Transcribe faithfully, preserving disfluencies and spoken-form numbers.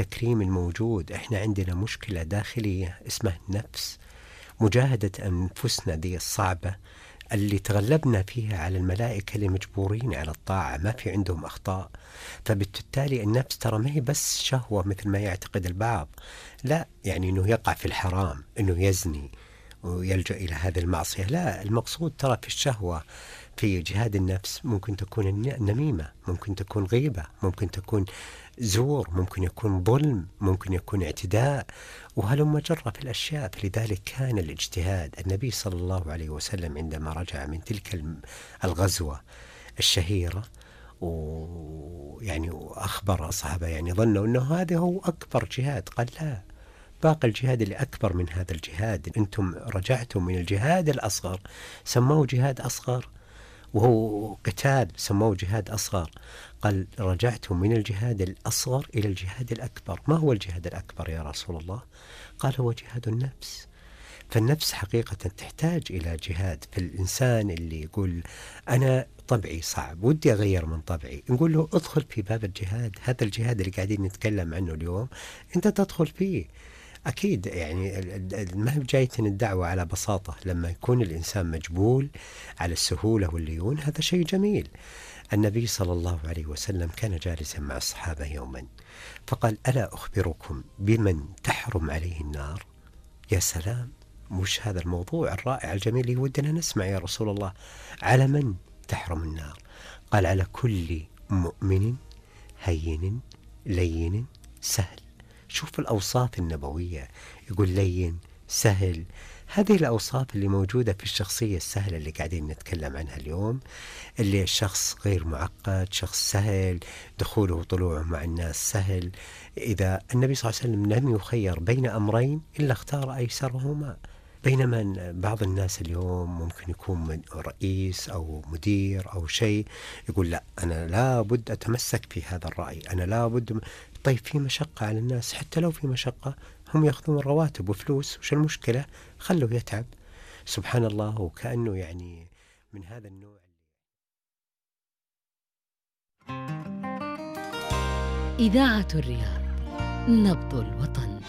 التكريم الموجود. احنا عندنا مشكلة داخلية اسمها النفس، مجاهدة أنفسنا دي الصعبة اللي تغلبنا فيها على الملائكة اللي مجبورين على الطاعة، ما في عندهم أخطاء. فبالتالي النفس ترى ما هي بس شهوة مثل ما يعتقد البعض، لا، يعني أنه يقع في الحرام، أنه يزني ويلجأ إلى هذه المعصية، لا. المقصود ترى في الشهوة في جهاد النفس ممكن تكون النميمة، ممكن تكون غيبة، ممكن تكون زور، ممكن يكون ظلم، ممكن يكون اعتداء، وهلم جرة في الأشياء. فلذلك كان الاجتهاد. النبي صلى الله عليه وسلم عندما رجع من تلك الغزوة الشهيرة ويعني وأخبر أصحابه، يعني ظنوا أنه هذا هو أكبر جهاد، قال لا، باقي الجهاد اللي أكبر من هذا الجهاد. أنتم رجعتم من الجهاد الأصغر سموه جهاد أصغر، وهو قتال سموه جهاد أصغر. قال رجعتم من الجهاد الأصغر إلى الجهاد الأكبر. ما هو الجهاد الأكبر يا رسول الله؟ قال هو جهاد النفس. فالنفس حقيقة تحتاج إلى جهاد. في الإنسان اللي يقول أنا طبعي صعب ودي أغير من طبعي، نقول له ادخل في باب الجهاد. هذا الجهاد اللي قاعدين نتكلم عنه اليوم أنت تدخل فيه. أكيد يعني ما هي جايتنا الدعوة على بساطة. لما يكون الإنسان مجبول على السهولة والليون هذا شيء جميل. النبي صلى الله عليه وسلم كان جالسا مع الصحابة يوما فقال ألا أخبركم بمن تحرم عليه النار؟ يا سلام، مش هذا الموضوع الرائع الجميل اللي ودنا نسمع يا رسول الله؟ على من تحرم النار؟ قال على كل مؤمن هين لين سهل. شوف الأوصاف النبوية، يقول لين سهل. هذه الأوصاف اللي موجودة في الشخصية السهلة اللي قاعدين نتكلم عنها اليوم، اللي الشخص غير معقد، شخص سهل، دخوله وطلوعه مع الناس سهل. إذا النبي صلى الله عليه وسلم لم يخير بين أمرين إلا اختار أيسرهما. بينما بعض الناس اليوم ممكن يكون رئيس أو مدير أو شيء يقول لا، أنا لا بد أتمسك في هذا الرأي، أنا لا بد. طيب في مشقة على الناس، حتى لو في مشقة هم يأخذون رواتب وفلوس، وش المشكلة؟ خلوا يتعب. سبحان الله. وكأنه يعني من هذا النوع. إذاعة الرياض، نبض الوطن.